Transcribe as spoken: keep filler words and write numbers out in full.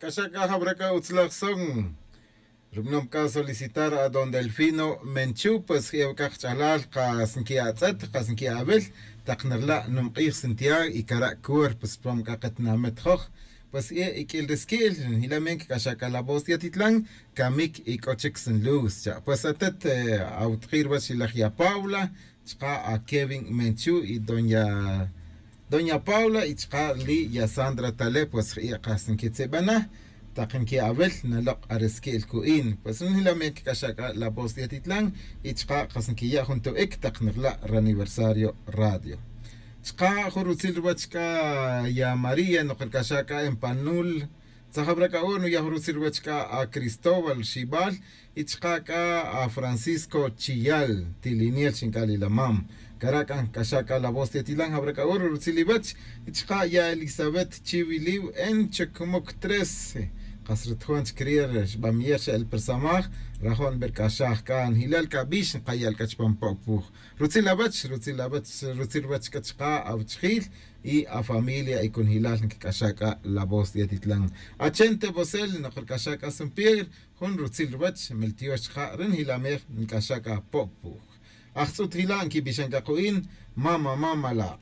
Xa c'a jawra c'a utzlaj son. Rubnom c'a solicitar a don delfino menchu pues je' awac'a kach'alal kas nqui'atz'et kas nqui'awil tak nrila' numk'ij santiago y cara' cuerpo spam c'a katinamit joj. Pues je' iq'uil risqui'l njilamen quic'axa c'a la voz yatitlan camic y c'o chic sanluz cha' pues atet awutji' ruwach ilaj ya paula chka' a kevin menchu y doña doña paula y chka' li ya sandra tale pues je' kas nquitzibana tak nqui'awil nalok' arisqui'l cu'in pues njilamen quic'axa c'a la voz yatitlan y chka' kas nquiya' jun to'ic tak nrila' raniversario radio. Chka' jun rutzil ruwach c'a ya maría nok ric'axa c'a empanul. Tzajawra c'a oro nuya' jun rutzil ruwach c'a a cristóbal xibal y chka' c'a a francisco chiyal tiliniel xinc'al ilamam. Cara' c'a nc'axa c'a la voz yatilan jawra c'a oro rutzil iwach y chka' ya elisabet chiwiliw en chocmoc trece. Kas rutjon chic ri' xbamiyer xa el persamaj rajo' nberc'axaj c'a njilal c'a bix nkayal c'a chupan po'puj. Rutzil awach rutzil awach rutzil ruwach c'a chka' awachijil y afamilia y conjilal nquic'axa c'a la voz yatitlan. Achente vosel nok ric'axa c'a san pier jun rutzil ruwach meltiox chka' ri njilamej nc'axa c'a po'puj. Ajtz'ut jila' nquibixan c'a ku'in mama mama la'.